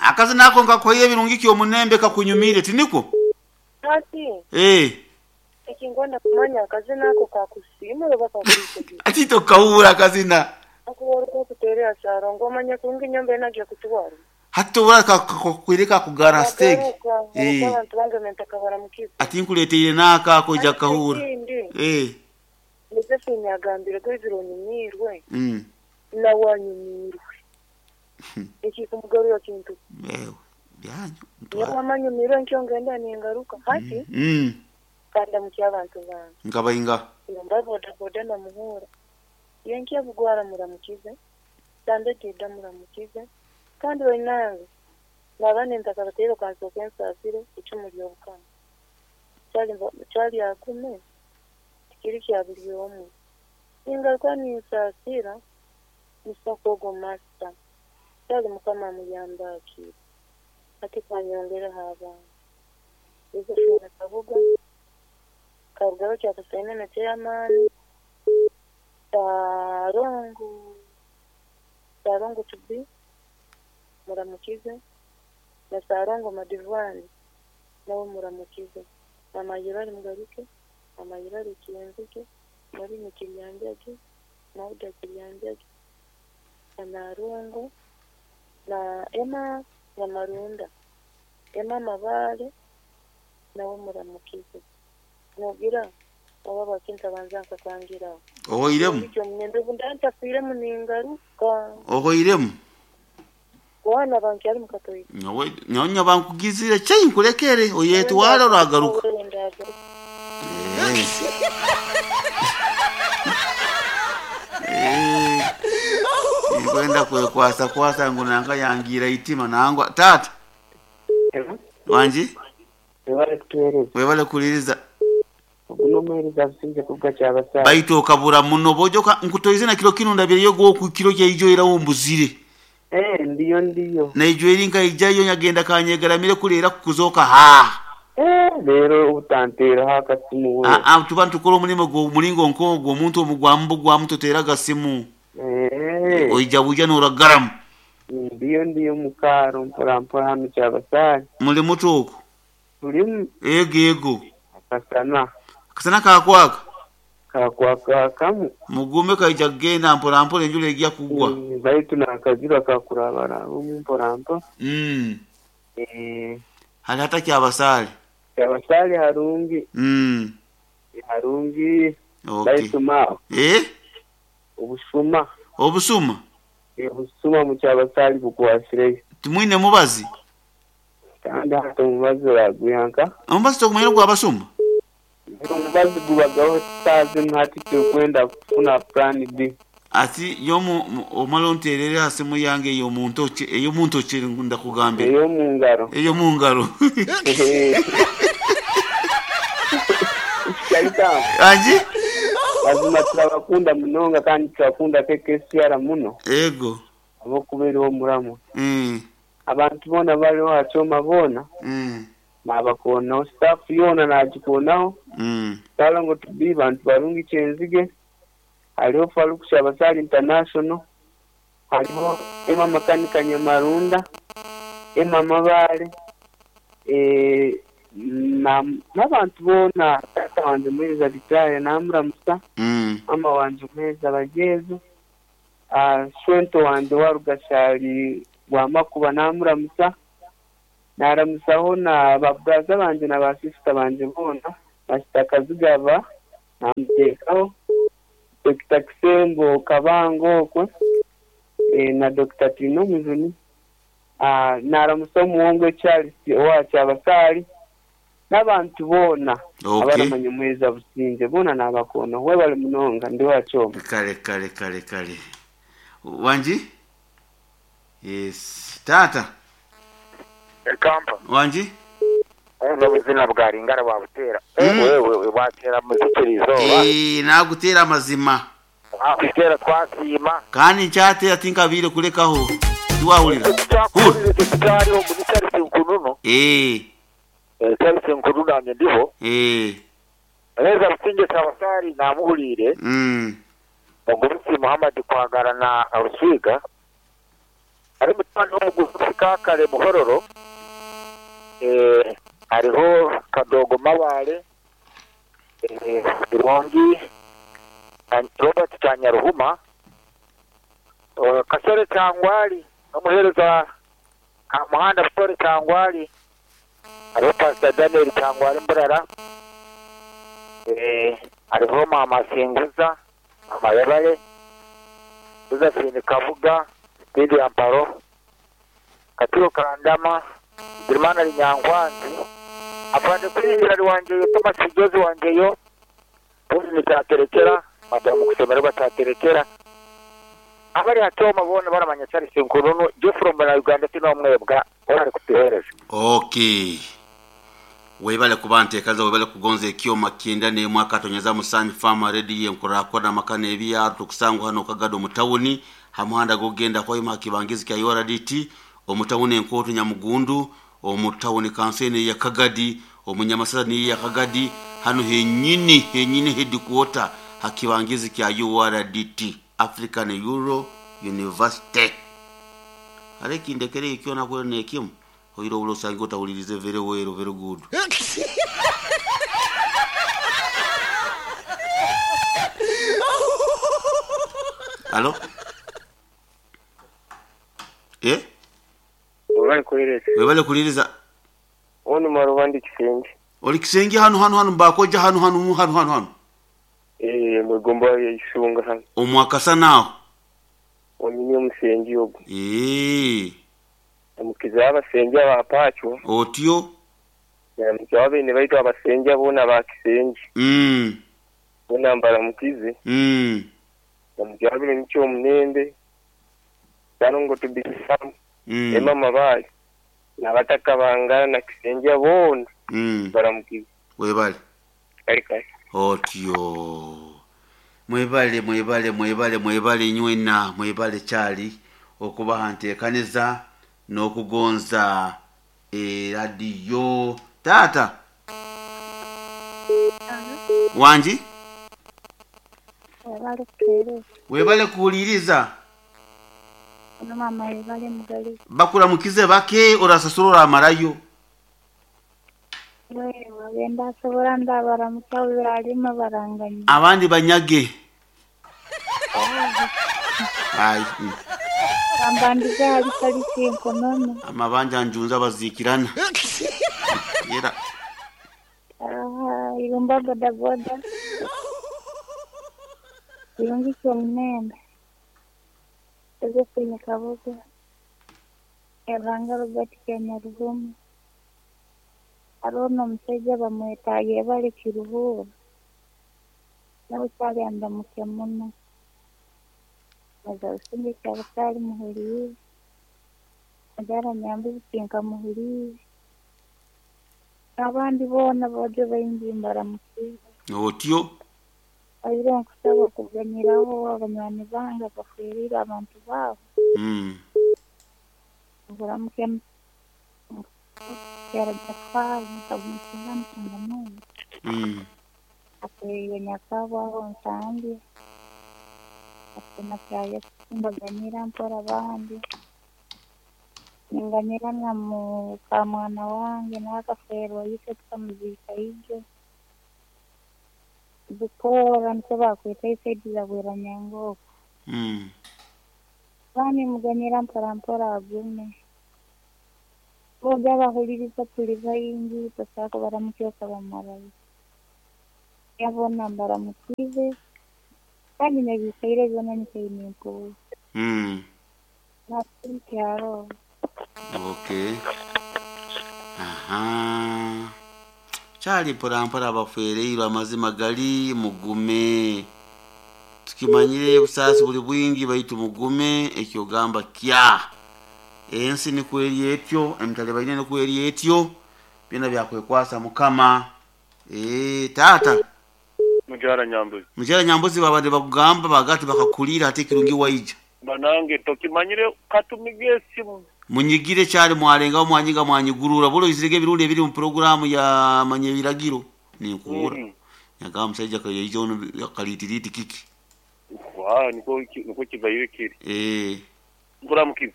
Akazina ako nkakuhaire ebirungi ki omunembe kakunyumiire, tinikwo? Hati, Eh. ekinkwenda kumanya akazina ako kakusiimura oba kakwikiriza? Ati tokahuura akazina. Akuba orikukuteerera Ssalongo omanye kurungi nyowe mbaire nagiire kutwara. Hati tobura kakwire kakugara ha siteegi. Nagaruka Eh. ahabw'okuba abantu bange nintakabaramukire. Ati nkuleeteire n'ako ako oija Hati kukahuura. ekindi, Eh. Josephine agambire gwizire onyumiirwe, Mm. nawe anyumiirwe. Ekikumugarura kintu ki? Ewe, byanyu Nyowe ntwara. wamma nyumiirwe nkyo ngenda ningaruka. Hati kandamukye abantu bange. Nkabainga. Yomba bodaboda namuhuura. Yenkya bugwara muramukize, Sande Juda muramukize, kandi bainange naba nintakabateire kansooke nsaasire icumu ry'obukama. Kyali agume, tikiri kya buri omwe. Ningaruka ninsaasira Musaku ogwo Master. Kyali Mukama amuyambe akire. Hati kanyongereho abandi. Josephine Kabuga, Karugaho Kyakasaine na Chairman, Ssalongo, Ssalongo to be, muramukize, na Ssalongo Madivani nawe muramukize. Mama Yirari mugaruke, Mama Yirari Kyenzige, Maureen Kiryanjagi, Mauda Kiryanjagi, na Narungu, na Emma Nyamarunda, Emma Mabale nawe muramukize. Nogira oba bakintabanza nkakangiraho. Ohoiremu? Ekyo omunyembe ndantafiiremu ningaruka. Ohoiremu? Wana bankyali mukatoyi. Nyowe nyowe nyoba nkugizire chei nkulekere oyetwara oragaruka. Eh. Eh. Nkwenda kwekwasa kwasa ngu nanka yangira itima nangwa tata wanji Webale kutuweereza. webale kuliriza Ogu n'omuheereza Businge kuruga Kyabasaza. baitu okabura muno bojoka nkutoize na kiro kinu ndabireyo gwo kiro kyaijo era wombuzire Eh, ndiyo ndiyo. naijo eri nkaijayo nyagenda kanyegaramire kuleera kukuzoka ha Eh, leero obutanteeraho akasimu we. Ah, ah, tuba nitukora omurimo gwo muringo nk'ogwo omuntu omugwamu bugwamu toteera agasimu Eh, oija buja noragaramu ndiyo ndiyo mukaaro mpora mpora hanu Kyabasaza. muli muto okwo Tulimu ego ego akasana akasana kakwaka kakwaka kamu. mugume kaija kugenda mpora mpora enjura ejja kugwa Baitu n'akajura kakurabarabamu mpora mpora. mm. Eh, hali hata kyabasaale Kyabasaale harungi. mm. Harungi. okay. Baitu maawe eh? obushuma. obusuma Obusuma mu Kyabasaale bukwasireyo. timwine mubazi Kandi hati omubazi oragwihanka. omubazi tokumanyira gwabasuma Omubazi gubagaho saazi hati turikwenda kufuna plan B. ati yomu omala onterere ha simu yange eyomuntoki eyomuntoki ndakugambira Ey'omu ngaro. eyomungaro Kyalitamu. anji Mazima turabakunda munonga kandi turakunda KKCR muno ego ahabw'okuba eriho omuramo. mm. Abantu boona bariho aha kyoma boona Mm. naabakoonaho. Staff yoona naagikoonaho. Mm. Ssalongo to be bantu barungi Kyenzige. Hariho Farouk Kyabasaale International. Hariho Emma Makanika Nyamarunda. Emma Mabale. Eh, n'abantu boona taata wangye Muheereza Vitale namuramusa. Mm. Mama wangye Muheereza Bagyezo. Shwento wangye Warugashari Rwamakuba namuramusa. Naramusaho na baburaza bangye na basisita bangye boona. Pasita Kazigaba namuteekaho. Dr. Kisembo Kabango okwe na Dr. Tino Mujuni. Naramusa omuwongo Charles owa Kyabasaali n'abantu boona Okay. abaramanya Muheereza Businge boona naabakoonaho. Webale munonga ndi wa Kyoma. Kale kale kale kale wanji yes tata Ekampa. wanji N'obuzina bwa Ringara bwabutera. Mm. Wewe bwatera muzikira izooba. Eh, nagutera amazima Twakutera twasiima. kandi nkyatera tinkabiire kulekaho tiwahulira Tukyakuwulire tukyaliho muri Charles Nkununu. Eh, Charles Nkununu nanye ndiho. eh, Muheereza Businge Kyabasaali namuhuliire. mm, Ogurusi Muhammad Kwagara na Ruswiga. Hariho mutabani w'omugurusi Kaakare Muhororo, hariho Kadogo Mabaale, Birungi Robert Kyanyaruhuma, Kasore Kyangwali n'omuheereza Kamuhanda Busore Kyangwali, hariho Pasita Daniel Kyangwali Mburara, hariho Maama Singuza, Maama Yebare, Josephine Kabuga, Lydia Mparo, Katiro Kandama, Bigirimana Linyankwanzi, Afande Kwiringira ari Wangyeyo, Thomas Kijozi Wangyeyo, Pauline Kyaterekera, Madamu Kusemererwa Kyaterekera, abari ha kyoma boona baramanya Charles Nkununu, Geoffrey Muna Uganda tinomwebwa ori kutuheereza. Okay. Webale kuba nteekaza, webale kugonza ekyoma kyenda n'emwe akatonyeza Musanyi Farm Radio enkurakora amakana ebyaro tukusangwa hano Kagado mu tawuni ha muhanda gogenda kwaima hakibangizi kya URDT omu tawuni enkooto Nyamugundu omu tawuni kansene ya Kagadi omu Nyamasasa ni ya Kagadi hano henyini henyini headquarter hakibangizi kya URDT African Euro University. Hare kindekere ikyona kwero nekimu oiro ulo sangi otawulirize very well, very good. Alo? Eh? Webale kuliriza. Webale kuliriza. Ono marubandi Kisenge. Oli Kisenge hano hano hano mbakoja hano hano hano hano hano. Eh, mwegomba ya isunga hano. Omwakasa nawo. Onyinyi omusengi ogwo. Eh. Omukiza abasengi abapachwa. Otyo. Namukiza abene baitu abasengi abona ba Kisenge. Bona mbara mukize. Namukiza abene nicho omunembe. Tanongo tubisam. Ema mabali. Nabataka bangana na Kisenge abona. Baramukize. Webale. Kali kali. Otyo. Mwebale mwebale mwebale mwebale nywena mwebale kyali okubaha nteekaniza n'okugonza eradiyo. Taata wangi webale kuwuliriza. Bakuramukize bake orasasura oramarayo. Abandi banyage. Ai. Ambandiza hali kalisi enkonono. Amabanja njunza bazikirana. Yera. Irumba boda boda. Irungi kyo mnembe. Josephine Kabuga. Evanga Robert Kenyarugumu. Arona omusajja bamwetaaga bali kiruhuura. Nawe kyali andamuke muno. Maza usinge kyabasali muhuriire. Majara nyambuzi kinka muhuriire. Abandi boona bojo baingi mbaramukiire. Otyo. Aire nkusaba okuganyiraho abanywani bange bafiirire abantu baabo. Nguramuke Kera Jafari nkamusinga mtungamungu. Akwiriye nyakabo aho nsange. Akuna kya mbaganyira mpora abandi. Ninganyira na mukamwana wange n'akaferwa yise tukamuzika ibyo. Bukora niko bakwita isaidiza bwera nyangoko. Bani muganyira mpora mpora agume. Boga bahuliriza tuli baingi tosako baramukyoka bamarayo. Yabona mbaramukize kandi nebisaire byona nikayinempo. Na kyaro. Okay. Aha. Kyali mpora mpora abafereirwe amazima gali mugume. Tukimanyire busaasi buli bwingi baitu mugume ekyogamba kya. Ensi nikweri etyo, emitale baine nikweri etyo, byona byakwekwasa Mukama. Tata. Mujara Nyambuzi. Mujara Nyambuzi babade bakugamba bagati bakakulira ate kirungi waija. Banange tokimanyire katumige esimu. Munyigire kyali mwalenga mwanyiga mwanyigurura bulo izirege ebirungi ebiri mu programu ya manye biragiro ninkuura. Nyagamba musajja kayaija ono kalitiriti kiki. Wa niko niko kibaire kiri. Ngura mukizi.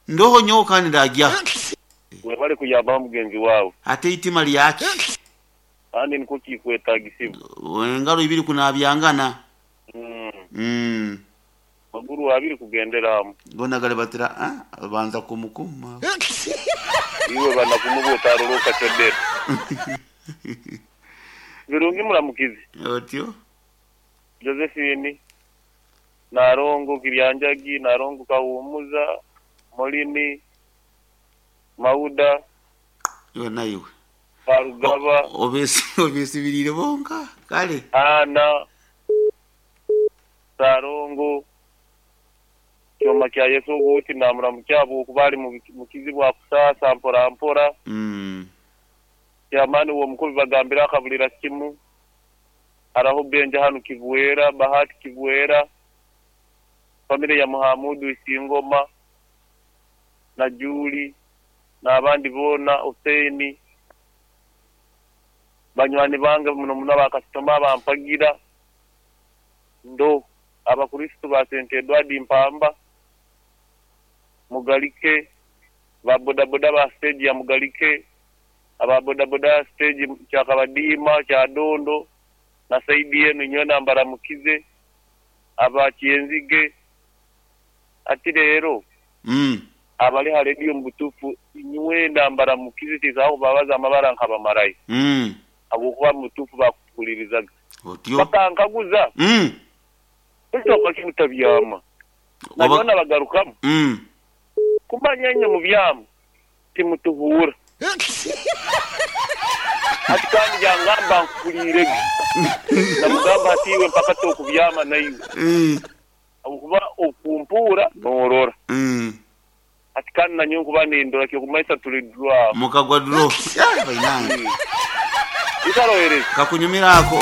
Ndoho nyowe kandi ndagyaho. Webale kuyambaho mugenzi wawe. Ate itima lyaki? Kandi nikwo kikwetagisibwa. Engaro ibiri kunabyangana. Maguru abiri kugendera hamu. Gona galibatira ah banza kumukuma. Iwe banakumuba otaroroka chodera. Birungi muramukizi. Otyo. Josephine Narongo Kiryanjagi, Narongo Kahumuza, Molini, Mauda, Iwe naiwe. Barugaba, Obesibirire bonka. Kale. Ana, Sarongo, Kyoma kya Yesu oguti namuramukyabo okuba ali mu kizibu akusasa mpora mpora. Kyamani uwo mukuru bagambira akabulira kimu. Araho Benja hano Kivuera, Bahati Kivuera, family ya Muhamudu Isingoma na Juli n'abandi bona Hussein, banywani bange muno muno abakasitoma bampagira ndo abakristo ba St. Edward Mpamba Mugalike, ba bodaboda ba stage ya Mugalike, aba bodaboda stage Kyakabadima Kyadondo na saidi yenu nyona mbaramukize, aba Kyenzige ati rero abali ha radio mubutufu nywenda mbaramukize tizaho babaza amabara nkabamarayi. Abokuba mutufu bakukulirizaga. Otyo. Bakankaguza. Ekyo kimutabyama. Nabona bagarukamu. Kumanya nyo mu byamu timutuhura. Ati kandi yangamba nkulirege. Namugamba ati iwe mpaka tokubyama naiwe. Okuba okumpura norora. Ati kandi nanyo nkuba nindora kyo kumaisa tuli draw. Mukagwa draw. Ya bainange. Ikarohereza. Kakunyumira ako.